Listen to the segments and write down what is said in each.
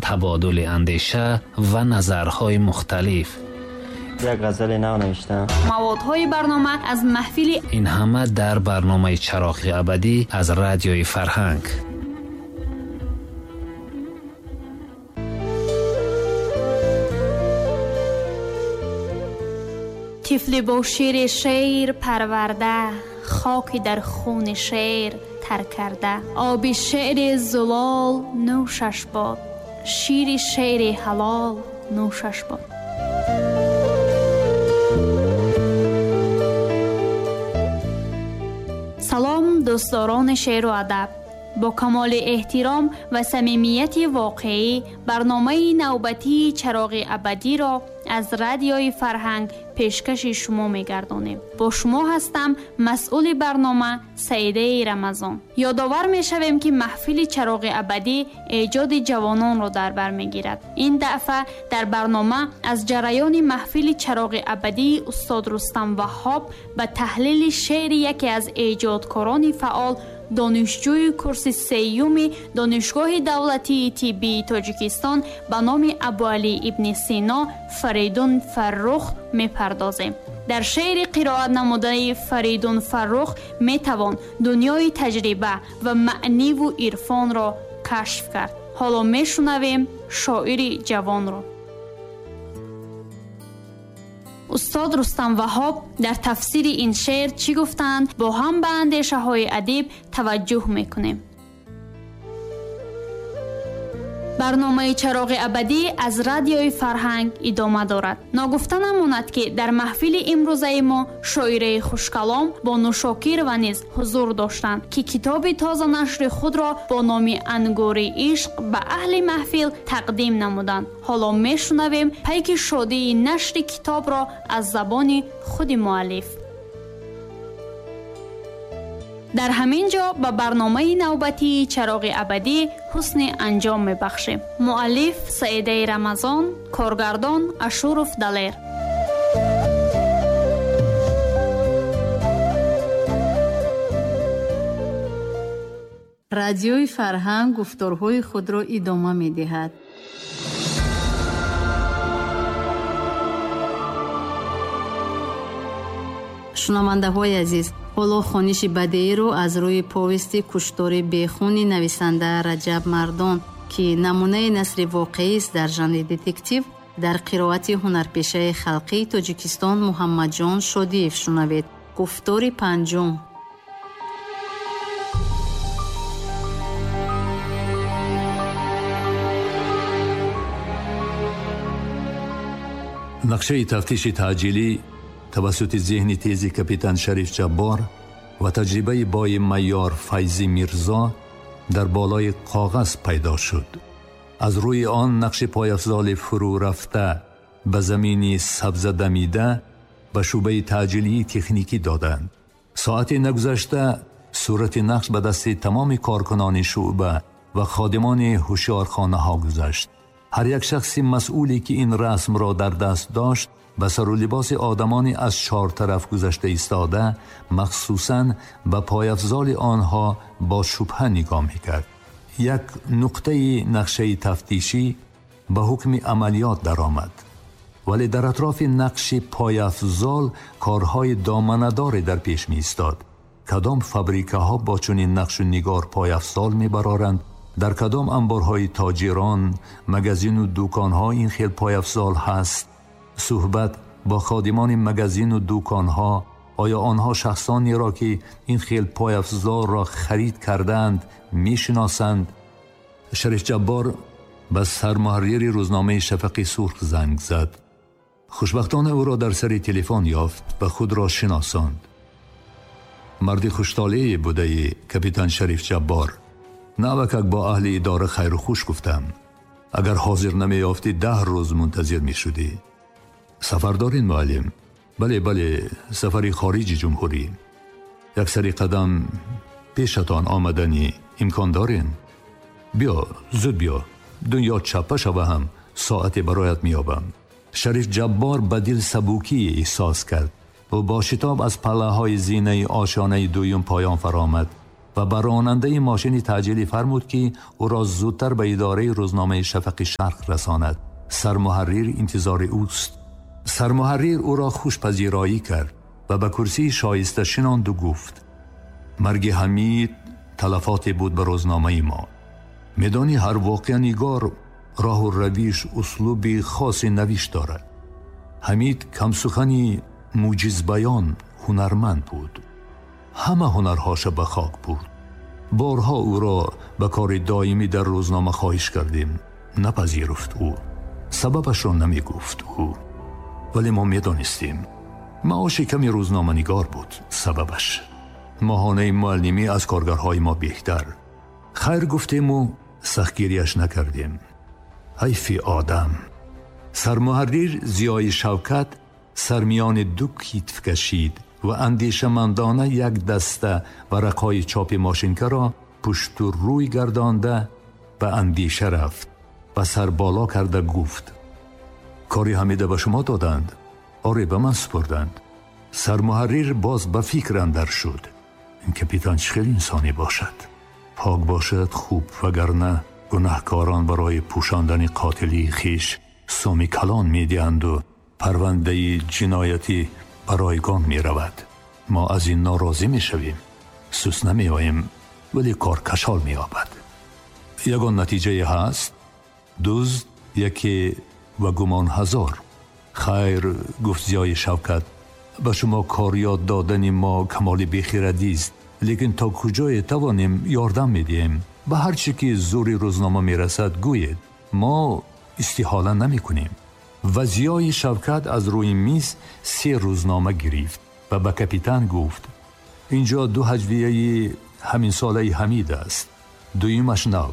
Табодули андеша ва назарҳои мухталиф. Як ғазали нав навиштам. Маводҳои барнома аз маҳфили ин ҳама дар барномаи Чароғи абадӣ аз Радиои Фарҳанг. Тифли бо шири шер парварда, хоки дар хуни шер тар карда, оби шеъри зулол нӯшаш бод, шири шеъри ҳалол нӯшаш бод. Салом, дӯстдорони шеъру адаб. Бо камоли эҳтиром ва самимияти воқеӣ барномаи навбатии Чароғи абадиро аз Радиои Фарҳанг пешкаши шумо мегардонем. Бо шумо ҳастам масъули барнома Саидаи Рамазон. Ёдовар мешавем, ки маҳфили Чароғи абадӣ эҷоди ҷавононро дар бар мегирад. Ин дафъа дар барнома аз ҷараёни маҳфили Чароғи абадии устод Рустам Ваҳҳоб ба таҳлили шеъри яке аз эҷодкорони фаъол, донишҷӯи курси сеюми Донишгоҳи давлатии тиббии Тоҷикистон ба номи Абуалӣ ибни Сино Фаридун Фаррух мепардозем. Дар шеъри қироат намудаи Фаридун Фаррух метавон дунёи таҷриба ва маъниву ирфонро кашф кард. Ҳоло мешунавем шоири ҷавонро. Устод Рустам Ваҳҳоб дар тафсири ин шеър чӣ гуфтанд, бо ҳам ба андешаҳои адиб таваҷҷӯҳ мекунем. Барномаи Чароғи абадӣ аз Радиои Фарҳанг идома дорад. Ногуфта намонад, ки дар маҳфили имрӯзаи мо шоираи хушкалом Бону Шокирова низ ҳузур доштанд, ки китоби тозанашри худро бо номи Ангури ишқ ба аҳли маҳфил тақдим намуданд. Ҳоло мешунавем пайки шодии нашри китобро аз забони худи муаллиф. Дар ҳамин ҷо ба барномаи навбатии Чароғи абадӣ ҳусни анҷом мебахшем. Муаллиф Саидаи Рамазон, коргардон Ашуров Далер. Радиои Фарҳанг гуфторҳои худро идома медиҳад. Шунавандаҳои азиз, ҳоло хониши бадеиро аз рӯи повести Куштори бехуни нависанда Раҷаб Мардон, ки намунаи насри воқеист дар жанри детектив, дар қироати ҳунарпешаи халқии Тоҷикистон Муҳаммадҷон Шодиев шунавед. Гуфтори панҷум. Нақшаи тафтиши таъҷилӣ тавассути зеҳни тези капитан Шариф Ҷаббор ва таҷрибаи бои майёр Файзи Мирзо дар болои коғаз пайдо шуд. Аз рӯи он нақши пойафзоли фурӯ рафта ба замини сабза дамида ба шӯъбаи таъҷилии техникӣ доданд. Соате нагузашта сурати нақш ба дасти тамоми коркунони шӯъба ва ходимони ҳушёрхонаҳо гузашт. Ҳар як шахси масъуле ки ин расмро дар даст дошт, ба сару либоси одамони аз чор тараф гузашта истода, махсусан ба пойафзоли онҳо бо шубҳа нигоҳ мекард. Як нуқтаи нақшаи тафтишӣ ба ҳукми амалиёт даромад, вале дар атрофи нақши пойафзол корҳои доманадоре дар пеш меистод. Кадом фабрикаҳо бо чунин нақшу нигор пойафзол мебароранд? Дар кадом анборҳои тоҷирон, магазину дуконҳо ин хел пойафзол ҳаст? Суҳбат бо ходимони магазину дуконҳо, оё онҳо шахсонеро ки ин хел пойафзолро харид кардаанд мешиносанд? Шариф Ҷаббор ба сармуҳаррири рӯзномаи Шафақи Сурх занг зад. Хушбахтона ӯро дар сари телефон ёфт ва худро шиносонд. Марди хуштолее будаи капитан Шариф Ҷаббор. Навакак бо аҳли идора хайру хуш гуфтам. Агар ҳозир намеёфтӣ, 10 рӯз мунтазир мешудӣ. Сафар дорин, муаллим? Бале, бале, сафари хориҷи ҷумҳурӣ. Як сари қадам пешатон омаданӣ имкон дорин? Биё, зуд биё. Дунё чаппа шава ҳам соате бароят меёбам. Шариф Ҷаббор ба дил сабукӣ эҳсос кард. Ӯ бо шитоб аз паллаҳои зинаи ошёнаи дуюм поён фаромад. و به راننده ماشین تعجیلی فرمود که او را زودتر به اداره روزنامه شفق شرق رساند. سرمحرر انتظار اوست. سرمحرر او را خوش پذیرایی کرد و به کرسی شایسته شناند و گفت: مرگ حمید تلفات بود به روزنامه ما. میدانی هر واقعه نگار راه و رویش اسلوب خاص نویش دارد. حمید کم سخنی موجز بیان هنرمند بود. همه هنرهاش به خاک برد. بارها او را به کار دائمی در روزنامه خواهش کردیم، نپذیرفت او. سببش را نمی گفت او، ولی ما می دانستیم. معاش کمی روزنامه نگار بود سببش. ماهانه معلمی از کارگرهای ما بهتر. خیر گفتیم و سختگیریش نکردیم. حیف آدم. سرمحرر ضیای شوکت سرمیان دو کتف کشید و اندیشمندانه یک دسته ورقهای چاپ ماشینکه را پشت و روی گردانده به اندیشه رفت و سر بالا کرده گفت: کاری حمیده به شما دادند؟ آره، به من سپردند. سرمحرر باز به فکر اندر شد. این کپیتان چه خیلی انسانی باشد؟ پاک باشد خوب، وگرنه گناهکاران برای پوشاندن قاتلی خیش سومی کلان میدهند و پرونده جنایتی برایگان می رود. ما از این ناراضی می شویم، سوس نمی آییم، ولی کار کشال می آبد. یگان نتیجه هست؟ دزد یکی و گمان هزار. خیر، گفت ضیای شوکت، به شما کار یاد دادن ما کمال بیخیردی است، لیکن تا کجای توانیم یاردم میدهیم. به هر چی که زور روزنامه میرسد گویید، ما استحاله نمی کنیم. و ضیای شوکت از روی میز 3 روزنامه گرفت و به کپیتان گفت: اینجا 2 هجویه همین ساله حمید است، دویمش نو،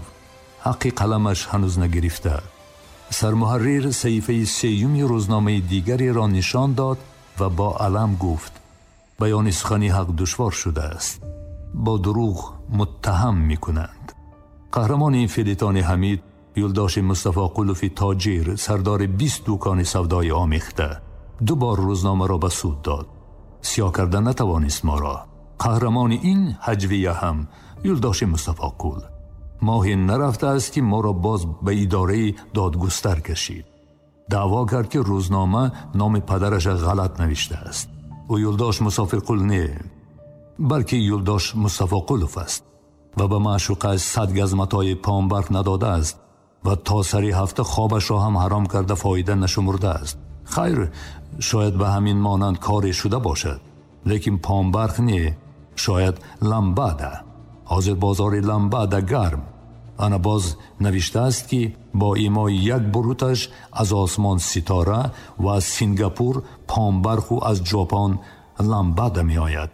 حق قلمش هنوز نگرفته. سرمحرر صحیفه 3 روزنامه دیگری را نشان داد و با علم گفت: بیان سخنی حق دشوار شده است، با دروغ متهم می کنند. قهرمان این فیلیتان حمید یلداش مصطفی قلوف تاجر، سردار 20 دوکان سودای آمیخته، 2 بار روزنامه را به سود داد. سیاه کرده نتوانست ما را. قهرمان این هجویه هم یلداش مصطفی قل. ماهی نرفته است که ما را باز به اداره دادگستر کشید. دعوا کرد که روزنامه نام پدرش غلط نوشته است. او یلداش مسافر قل نه، بلکه یلداش مصطفی قلوف است و به معشوقه 100 گز متای پامبرق نداده است و تا سری هفته خوابش را هم حرام کرده فایده نشمرده است. خیر، شاید به همین مانند کاری شده باشد، لیکن پامبرق نه، شاید لمباده. حاضر بازار لمباده گرم. انا باز نوشته است که با ایمای یک بروتش از آسمان ستاره و از سنگاپور پامبرق و از ژاپن لمباده می آید.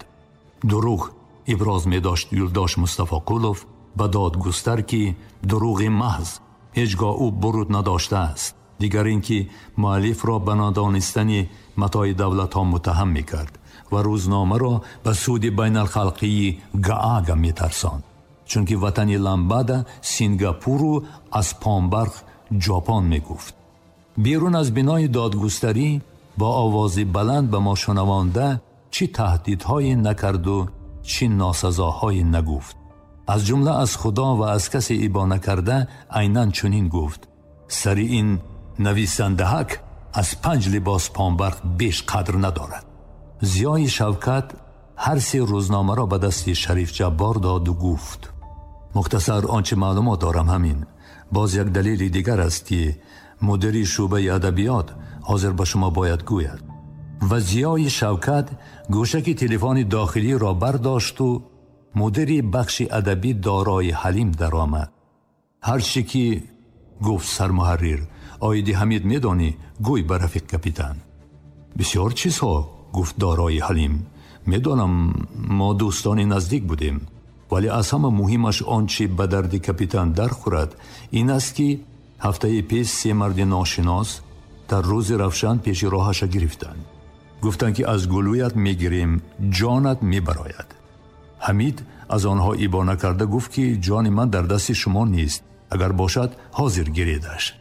دروغ ابراز می داشت یلداش مصطفی قلوف به دادگستر که دروغ محض، هیچگاه او برود نداشته است. دیگر اینکه مؤلف را به نادانستن متاع دولت ها متهم می کرد و روزنامه را به سود بین الخلقی گاگا می ترساند، چون که وطن لامبادا سنگاپور و از پامبرق ژاپن می گفت. بیرون از بنای دادگستری با آواز بلند به ما شنوانده چی تهدیدهای نکرد و چی ناسزاهای نگفت. از جمله از خدا و از کسی ایبا نکرده عیناً چنین گفت: سری این نویسندهک از 5 لباس پامبرق بیش قدر ندارد. ضیای شوکت هر 3 روزنامه را به دست شریف جبار داد و گفت: مختصر آنچه معلومات دارم همین. باز یک دلیل دیگر است که مدیر شعبه ادبیات حاضر به شما باید گوید. و ضیای شوکت گوشک تلفن داخلی را برداشت و مدیر بخش ادبی دارای حلیم درآمد. هر چی که گفت سرمحرر: آیدی حمید میدانی، گوی به رفیق کپیتان. بسیار چیزها گفت دارای حلیم. میدانم، ما دوستان نزدیک بودیم، ولی از همه مهمش آنچه به درد کپیتان در خورد این است که هفته پیش 3 مرد ناشناس در روز روشن پیش راهش گرفتند. گفتند که از گلویت میگیریم، جانت میبراید. حمید از آنها ایبا نکرده گفت که جان من در دست شما نیست، اگر باشد حاضر گیریدش.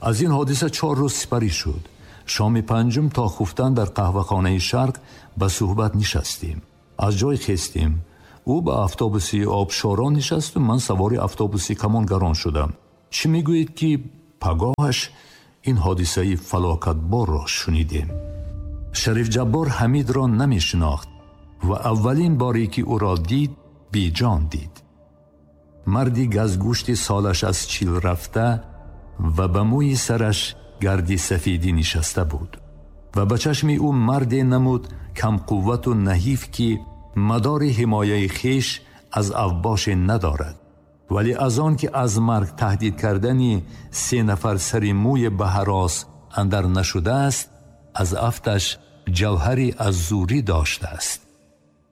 از این حادثه 4 روز سپری شد. شام 5 تا خفتن در قهوه‌خانه شرق به صحبت نشستیم. از جای خستیم. Ӯ ба автобуси обшорон нишасту ман савори автобуси камонгарон шудам. Чӣ мегӯед, ки пагоҳаш ин ҳодисаи фалокатборро шунидем? Шариф Ҷаббор Ҳамидро намешинохт ва аввалин боре ки ӯро дид, беҷон дид. Марди газгӯшти солаш аз 40 рафта ва ба мӯи сараш гарди сафедӣ нишаста буд ва ба чашми ӯ марде намуд камқуввату наҳиф, ки мадори ҳимояи хеш аз авбоше надорад, вале аз он ки аз марг таҳдид кардани 3 нафар сари мӯи ба ҳарос андар нашудааст, аз афташ ҷавҳари аз зӯрӣ доштааст.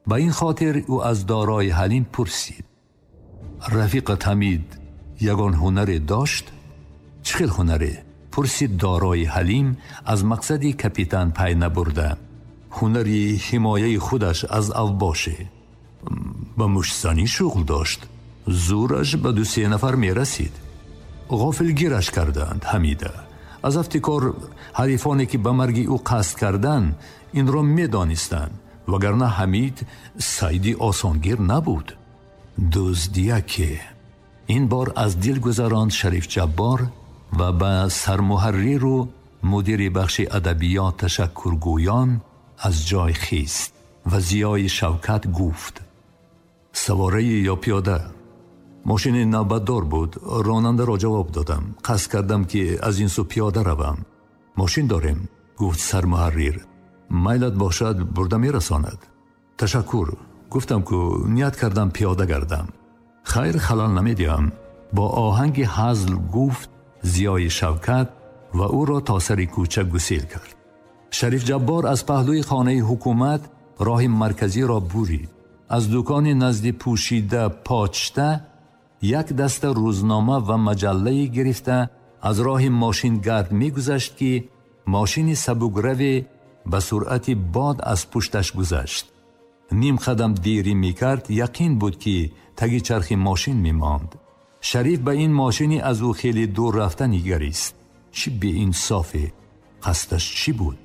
Ба ин хотир ӯ аз дорои Ҳалим пурсид: рафиқат Ҳамид ягон ҳунаре дошт? Чӣ хел ҳунаре? Пурсид дорои Ҳалим аз мақсади капитан пай набурда. Ҳунари ҳимояи худаш аз авбоше. Ба муштзанӣ шуғл дошт. Зӯраш ба 2-3 нафар мерасид. Ғофилгираш карданд Ҳамида. Аз афти кор ҳарифоне ки ба марги ӯ қасд карданд, инро медонистанд, вагарна Ҳамид сайди осонгир набуд. Дуздияке. Ин бор аз дил гузаронд Шариф Ҷаббор ва ба сармуҳарриру мудири бахши адабиёт ташаккургӯён аз ҷой хист ва Зиёи Шавкат гуфт: савораи ё пиёда? Мошини навбатдор буд. Ронандаро ҷавоб додам. Қасд кардам, ки аз ин сӯ пиёда равам. Мошин дорем, гуфт сармуҳаррир. Майлат бошад, бурда мерасонад. Ташаккур. Гуфтам, ку ният кардам пиёда гардам. Хайр, халал намедиҳам. Бо оҳанги ҳазл гуфт Зиёи Шавкат ва ӯро то сари кӯча гусел кард. Шариф Ҷаббор аз паҳлӯи хонаи ҳукумат роҳи марказиро бурид. Аз дукони назди пӯшида почта як даста рӯзнома ва маҷаллае гирифта аз роҳи мошингард мегузашт, ки мошини сабукраве ба суръати бод аз пушташ гузашт. Ним қадам дерӣ мекард, яқин буд, ки таги чархи мошин мемонд. Шариф ба ин мошини аз ӯ хеле дур рафта нигарист. Чӣ беинсофе! Қасдаш чӣ буд?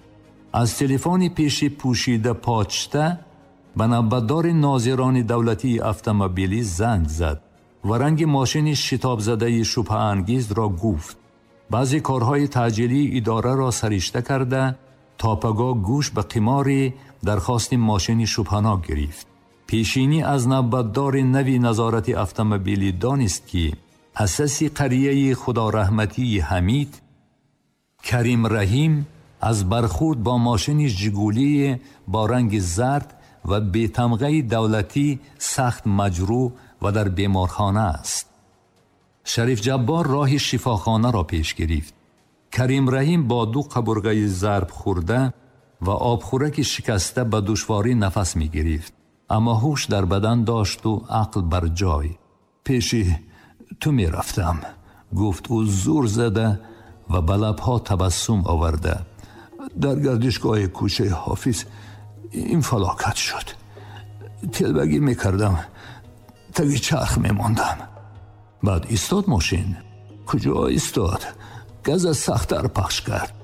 Аз телефони пеши пӯшида почта ба навбатдори нозирони давлатии автомобилӣ занг зад ва ранги мошини шитобзадаи шубҳаангезро гуфт. Баъзе корҳои таъҷилии идораро саришта карда, то пагоҳ гӯш ба қимори дархости мошини шубҳанок гирифт. Пешинӣ аз навбатдори нави назорати автомобилӣ донист, ки асаси қарияи худораҳматии Ҳамид Карим Раҳим аз бархӯрд бо мошини Жигулии бо ранги зард ва бетамғаи давлатӣ сахт маҷрӯҳ ва дар беморхона аст. Шариф Ҷаббор роҳи шифохонаро пеш гирифт. Карим Раҳим бо 2 қабурғаи зарб хӯрда ва обхӯраки шикаста ба душворӣ нафас мегирифт, аммо ҳуш дар бадан дошту ақл бар ҷой. Пеши ту мерафтам, гуфт ӯ зур зада ва ба лабҳо табассум оварда. Дар гардишгоҳи кӯчаи Ҳофиз ин фалокат шуд. Телбагӣ мекардам, таги чарх мемондам. Баъд истод мошин. Куҷо истод? Газа сахттар пахш кард.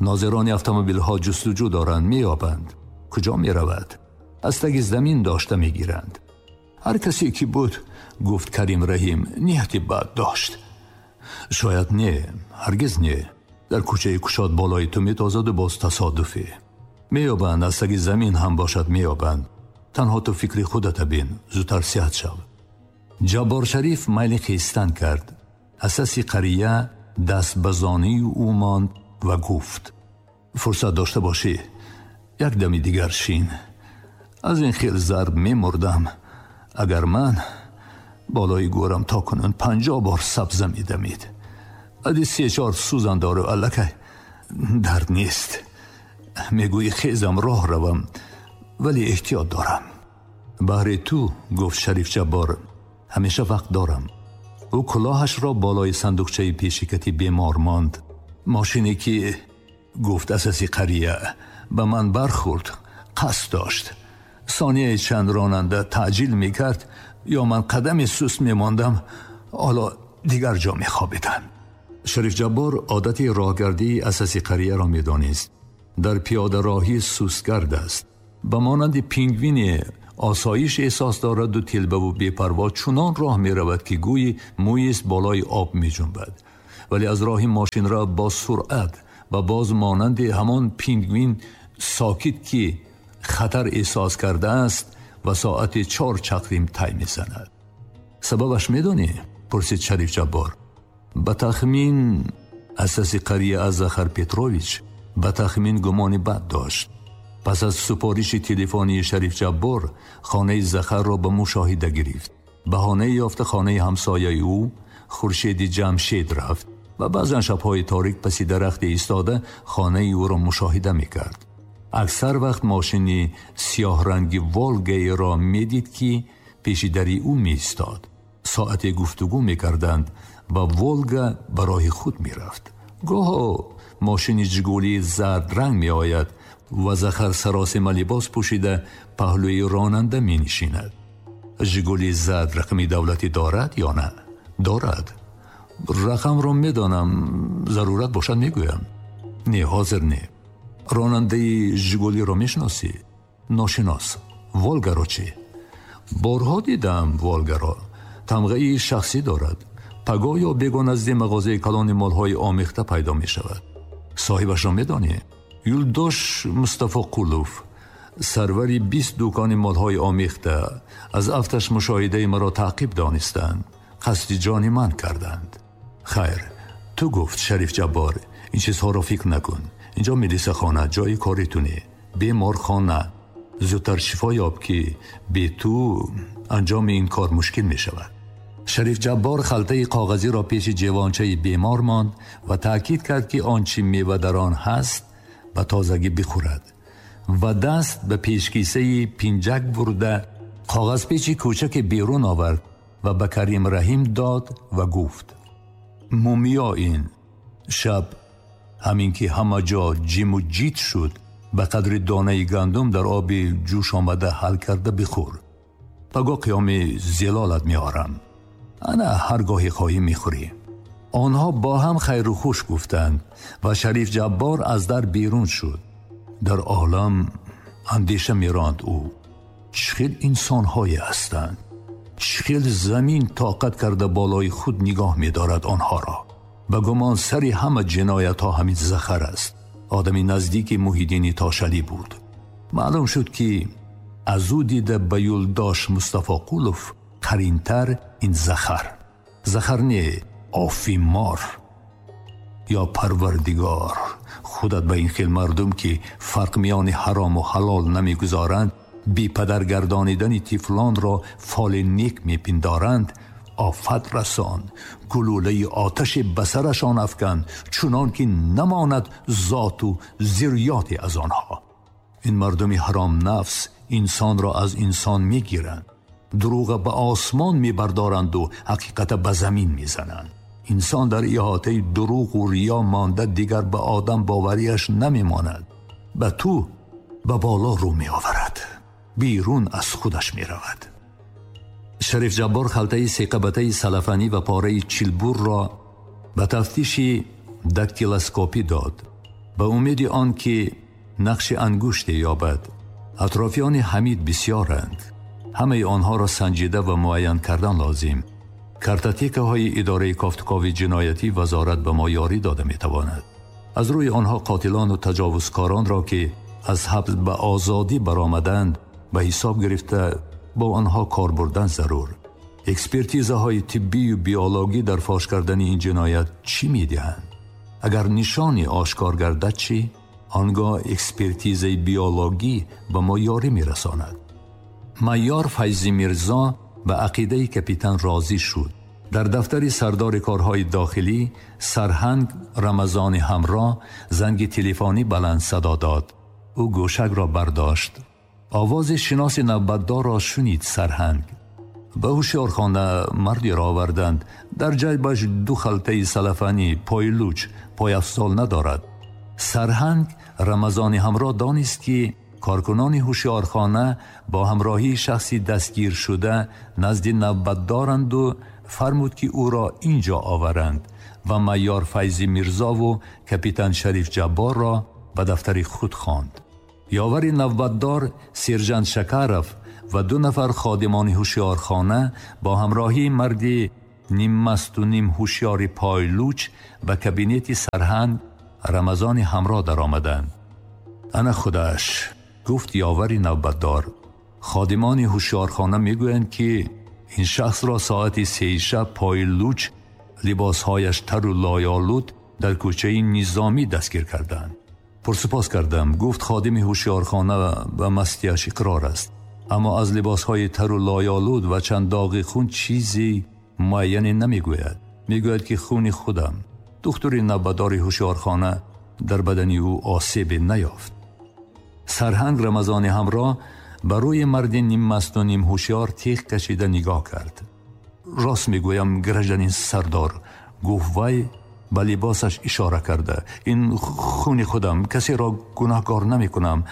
Нозирони автомобилҳо ҷустуҷӯ доранд, меёбанд. Куҷо меравад? Аз таги замин дошта мегиранд. Ҳар касе ки буд, гуфт Карим Раҳим, нияти бад дошт. Шояд не, ҳаргиз не. Дар кӯчаи кушод болои ту метозаду боз тасодуфе. Меёбанд, аз таги замин ҳам бошад меёбанд. Танҳо ту фикри худата бин, зудтар сиҳат шав. Ҷаббор Шариф майли хестан кард. Асаси қария даст ба зонии ӯ монд ва гуфт: фурсат дошта бошӣ, як дами дигар шин. Аз ин хел зарб мемурдам, агар ман болои гӯрам то кунун 50 бор сабза медамид. Ади 3-4 сӯзан дору аллакай дард нест. Мегӯӣ хезам роҳ равам, вале эҳтиёт дорам. Баҳри ту, гуфт Шариф Ҷаббор, ҳамеша вақт дорам. Ӯ кулоҳашро болои сандуқчаи пешикати бемор монд. Мошине ки, гуфт асаси қария, ба ман бархӯрд, қасд дошт. Сонияи чанд ронанда таъҷил мекард, ё ман қадами суст мемондам, ҳоло дигар ҷо мехобидам. Шариф Ҷаббор одати роҳгардии асаси қарияро медонист. Дар пиёдароҳӣ сустгард аст. Ба монанди пингвине Осоиш эҳсос дорад у телбаву бепарво чунон роҳ меравад, ки гӯйи мӯест болои об меҷунбад. Вале аз роҳи мошинра бо суръат ва боз монанди ҳамон пингвин сокит, ки хатар эҳсос кардааст, ва соати 4 чақрим тай мезанад. Сабабаш медонӣ? Пурсид Шариф Ҷаббор. Ба тахмин асаси қария аз Захар Петрович ба тахмин гумони бад дошт. Пас аз супориши телефонии Шариф Ҷаббор хонаи Захарро ба мушоҳида гирифт. Баҳонаи ёфта хонаи ҳамсояи ӯ Хуршеди Ҷамшед рафт ва баъзан шабҳои торик паси дарахте истода хонаи ӯро мушоҳида мекард. Аксар вақт мошини сиёҳранги Волгаеро медид, ки пеши дари ӯ меистод. Соате гуфтугӯ мекарданд ва Волга ба роҳи худ мерафт. Гоҳо мошини Жигулии зардранг меояд ва Захар саросима либос пӯшида паҳлӯи ронанда менишинад. Жигули зард рақами давлатӣ дорад ё на? Дорад. Рақамро медонам, зарурат бошад мегӯям. Не, ҳозир не. Ронандаи Жигулиро мешиносӣ? Ношинос. Волгаро чӣ? Борҳо дидам Волгаро. Тамғаи шахсӣ дорад. Пагоҳ ё бего назди мағозаи калони молҳои омехта пайдо мешавад. Соҳибашро медонӣ? Юлдош Мустафоқулов, сарвари 20 дукони молҳои омехта, аз афташ мушоҳидаи маро таъқиб донистанд, қасди ҷони ман карданд. Хайр, ту гуфт Шариф Ҷаббор, ин чизҳоро фикр накун. Инҷо милисахона, ҷои кори ту не, беморхона. Зудтар шифо ёб, ки бе ту анҷоми ин кор мушкил мешавад. Шариф Ҷаббор халтаи коғазиро пеши ҷевончаи бемор монд ва таъкид кард, ки он чи мева дар он ҳаст ба тозагӣ бихӯрад ва даст ба пешкисаи пинҷак бурда коғазпечи кӯчаке берун овард ва ба Карим Раҳим дод ва гуфт: мумиё ин шаб ҳамин ки ҳама ҷо ҷиму ҷит шуд, ба қадри донаи гандум дар оби ҷӯш омада ҳал карда бихӯр. Пагоҳ қиёми зилолат меорам. Ана ҳар гоҳе хоҳӣ мехӯрӣ. Онҳо бо ҳам хайру хуш гуфтанд ва Шариф Ҷаббор аз дар берун шуд. Дар олам андеша меронд ӯ: чӣ хел инсонҳое ҳастанд, чӣ хел замин тоқат карда болои худ нигоҳ медорад онҳоро. Ба гумон сари ҳама ҷиноятҳо ҳамин Захар аст. Одами наздики Муҳиддини Тошалӣ буд. Маълум шуд, ки аз ӯ дида ба Юлдош Мустафоқулов қаринтар ин Захар. Захар не, офимор. Ё Парвардигор, худат ба ин хел мардум, ки фарқ миёни ҳарому ҳалол намегузоранд, бепадаргардонидани тифлонро фоли нек мепиндоранд, офат расон, гулӯлаи оташе ба сарашон афкан, чунон ки намонад зоту зирёте аз онҳо. Ин мардуми ҳаром нафс инсонро аз инсон мегиранд, дурӯға ба осмон мебардоранду ҳақиқата ба замин мезананд. Инсон дар иҳотаи дурӯғу риё монда дигар ба одам боварияш намемонад, ба ту ба боло рӯ меоварад, берун аз худаш меравад. Шариф Ҷаббор халтаи сеқабатаи салафанӣ ва пораи чилбурро ба тафтиши дактилоскопӣ дод, ба умеди он ки нақши ангуште ёбад. Атрофиёни Ҳамид бисёранд. Ҳамаи онҳоро санҷида ва муайян кардан лозим. Картотекаҳои идораи кофтукови ҷиноятӣ вазорат ба мо ёрӣ дода метавонад. Аз рӯи онҳо қотилону таҷовузкоронро, ки аз ҳабс ба озодӣ баромаданд, ба ҳисоб гирифта бо онҳо кор бурдан зарур. Экспертизаҳои тиббию биологӣ дар фош кардани ин ҷиноят чӣ медиҳанд? Агар нишоне ошкор гардад чӣ? Он гоҳ экспертизаи биологӣ ба мо ёрӣ мерасонад. Майёр Файзи Мирзо ба ақидаи капитан розӣ шуд. Дар дафтари сардори корҳои дохилӣ сарҳанг Рамазони ҳамроҳ занги телефонӣ баланд садо дод. Ӯ гӯшакро бардошт. Овози шиноси навбатдорро шунид сарҳанг. Ба ҳушёрхона мардеро оварданд. Дар ҷайбаш 2 халтаи салафанӣ, пойлуч, пойафзол надорад. Сарҳанг Рамазони ҳамроҳ донист, ки коркунони ҳушёрхона бо ҳамроҳии шахси дастгиршуда назди навбатдоранду фармуд, ки ӯро ин ҷо оваранд ва майёр Файзи Мирзову капитан Шариф Ҷабборро ба дафтари худ хонд. Ёвари навбатдор сержант Шакаров و 2 نفر خادمان هوشیارخانه با همراهی مردی نیم مست و نیم هوشیار پایلوچ به کابینت سرهنگ رمضان همراه در آمدند. انا خودش، گفت یاوری نوبتدار، خادمان هوشیارخانه میگویند که این شخص را ساعت 3 شب پایلوچ، لباسهایش تر و لایالود در کوچه نظامی دستگیر کردند. پرسپاس کردم. گفت خادم هوشیارخانه و مستیش اقرار است، اما از لباسهای تر و لایالود و چند داغ خون چیزی معین نمیگوید. میگوید که خون خودم. دکتر نوبتدار هوشیارخانه در بدن او آسیب نیافت. سرهنگ رمضان همراه بر روی مرد نیم مست و نیم هوشیار تیغ کشیده نگاه کرد. راست میگویم گرژدنین سردار، گفت وی به لباسش اشاره کرده، این خون خودم، کسی را گناهکار نمی کنم،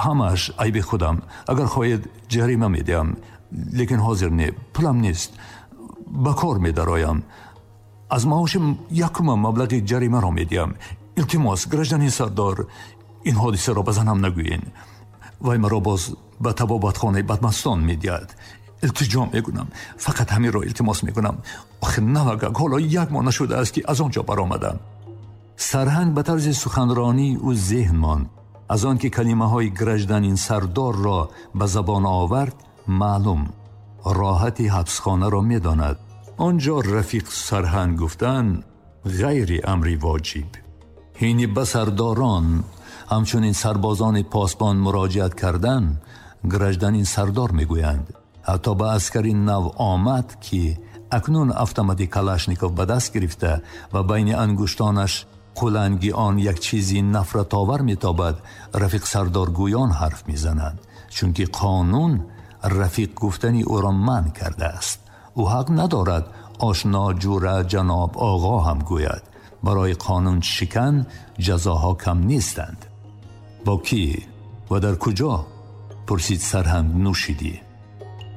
همش عیب خودم، اگر خواهید جریمه میدیم، لیکن حاضر نه، پولم نیست، به کار می درایم، از معاشم یکم مبلغ جریمه را میدیم، التماس گرژدنین سردار، این حادثه را به زنم نگویین، وای مرا باز به طبابتخانه بدمستان میدید، التجا میکنم، فقط همین را التماس میکنم، آخه نوگک حالا 1 ماه نشده است که از آنجا برآمدم. سرهنگ به طرز سخنرانی او ذهن ماند. از آن که کلمه های گرژدنین سردار را به زبان آورد معلوم راحتی حبسخانه را میداند. آنجا رفیق سرهنگ گفتن غیر امری واجب. هینی به سرداران همچنین سربازان پاسبان مراجعت کردن گرژدنین سردار میگویند. حتی به عسکری نو آمد که اکنون افتامدی کلاشنیکوف به دست گرفته و بین انگشتانش قلنگی آن یک چیزی نفرت آور میتابد، رفیق سردار گویان حرف میزنند، چون که قانون رفیق گفتنی او را منع کرده است. او حق ندارد آشنا جوره جناب آقا هم گوید. برای قانون شکن جزاها کم نیستند. با کی و در کجا؟ پرسید سرهنگ نوشیدی.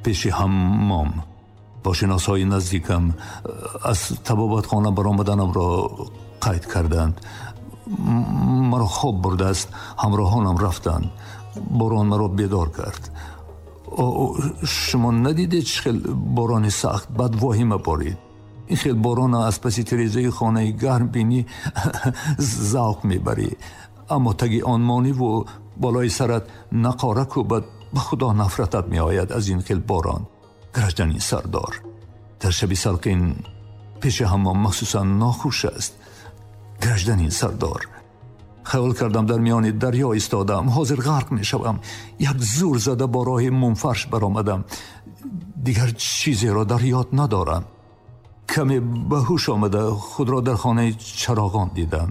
پیش حمام با شناسهای نزدیکم از طبابتخانه برآمدنم را قید کردند. مرا خواب برده است، همراهانم رفتند، باران مرا بیدار کرد. شما ندیدید چه خیل باران سخت بد واهمه بارید؟ این خیل باران از پس تریزه خانه گرم بینی ذوق میبری، اما تگی آنمانی و بالای سرت نقاره کوبد، به خدا نفرتت می آید از این خیل باران. گرژدنین سردار، در شبی سلقین پیش حمام مخصوصا ناخوش است. گرژدنین سردار، خیال کردم در میان دریا ایستادم، حاضر غرق می شوم. یک زور زده با راه منفرش برآمدم، دیگر چیزی را در یاد ندارم. کمی به هوش آمده خود را در خانه چراغان دیدم.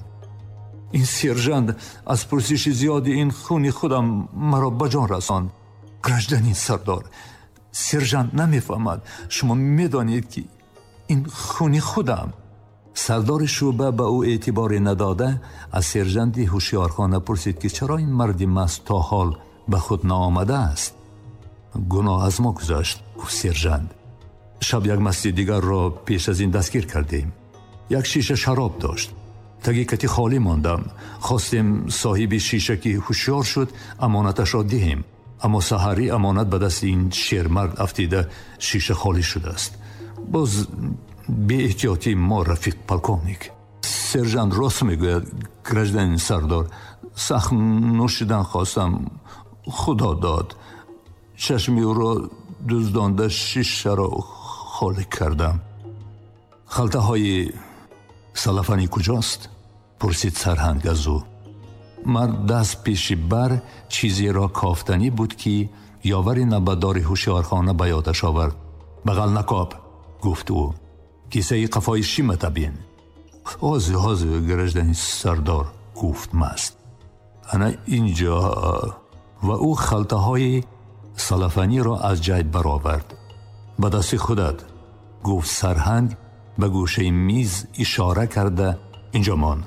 این سیرژند از پرسش زیادی این خونی خودم مرا به جان رساند. گرژدنین سردار، سرژانت نمیفهمد، شما میدانید که این خونی خودم. سردار شعبه به او اعتباری نداده از سرژانت هوشیارخانه پرسید که چرا این مرد مست تا حال به خود نآمده است. گناه از ما گذشت، گفت سرژانت. شب یک مستی دیگر را پیش از این دستگیر کردیم. یک شیشه شراب داشت. تگی کتی خالی ماندم. خواستیم صاحب شیشه که هوشیار شد امانتش را دهیم، اما سحری امانت به دست این شیرمرد افتیده شیشه خالی شده است. باز بی احتیاطی ما رفیق پلکوونیک. سرژانت راست میگوید گرژدنین سردار، سخت نوشیدن خواستم، خدا داد. چشمی او را دزدانده شیشه را خالی کردم. خلطه های سلفنی کجاست؟ پرسید سرهنگ از او. مرد دست پیش بر چیزی را کافتنی بود که یاور نبدار هوشیارخانه به یادش آورد. بغل نکاب، گفت او. کیسه قفای شیمت بین. حاضر حاضر گرژدنی سردار، گفت مست. انا اینجا. و او خلطه های سلفنی را از جیب برآورد. به دست خودت، گفت سرهنگ به گوشه میز اشاره کرده. اینجا مان.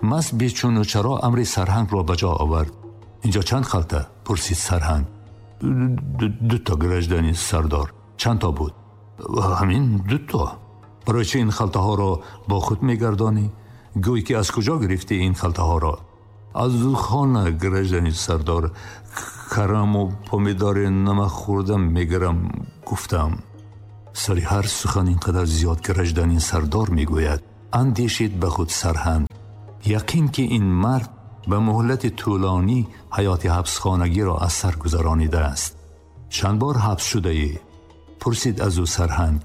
مست بیچون و چرا امر سرهنگ را به جا آورد. اینجا چند خلطه؟ پرسید سرهنگ. دو تا گرژدنی سردار. چند تا بود؟ همین دو تا. برای چه این خلطه ها را با خود میگردانی؟ گویی که از کجا گرفتی این خلطه ها را؟ از خانه گرژدنی سردار. Карам ва помидори намак-хӯрда мегирам, гуфтам. Сари ҳар сухан инқадар зиёд гражданин сардор мегӯяд, андешид ба худ сарҳанг. Яқин ки ин мард ба муҳлати тӯлонӣ ҳаёти ҳабсхонагиро аз сар гузаронидааст. Чанд бор ҳабс шудаӣ? Пурсид аз ӯ сарҳанг.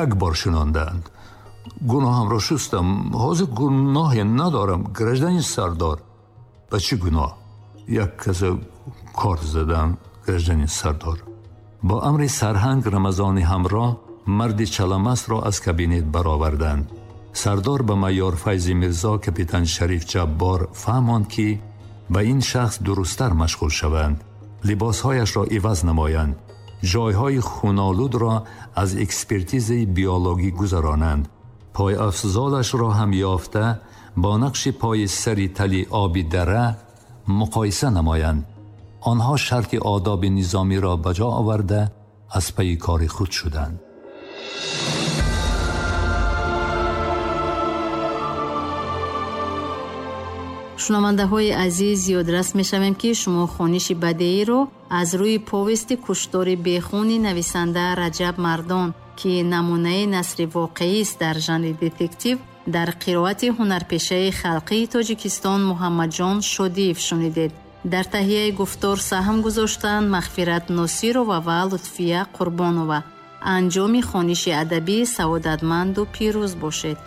Як бор шунондаанд. Гуноҳамро шустам. Ҳозир гуноҳе надорам, гражданин сардор. Ба чӣ гуноҳ? Як каса кор задам, гражданин сардор. Бо амри сарҳанг Рамазони ҳамроҳ марди чаламастро аз кабинет бароварданд. Сардор ба майор Файзи Мирзо капитан Шариф Ҷаббор фаҳмонд, ки ба ин шахс дурусттар машғул шаванд, либосҳояшро иваз намоянд, ҷойҳои хунолудро аз экспертизаи биологӣ гузаронанд, пойафзолашро ҳам ёфта бо нақши пои сари тали оби дара муқоиса намоянд. Онҳо шарти одоби низомиро ба ҷо оварда аз пайи кори худ шуданд. Шунавандаҳои азиз, ёдрас мешавем, ки шумо хониши бадеиро аз рӯи повести «Куштори бехуни» нависанда Раҷаб Мардон, ки намунаи насри воқеист дар жанри детектив, дар қироати ҳунарпешаи халқии Тоҷикистон Муҳаммадҷон Шодиев шунидед. Дар таҳияи гуфтор саҳм гузоштанд Мағфират Носирова ва Лутфия Қурбонова. Анҷоми хониши адабӣ саодатманду пирӯз бошед.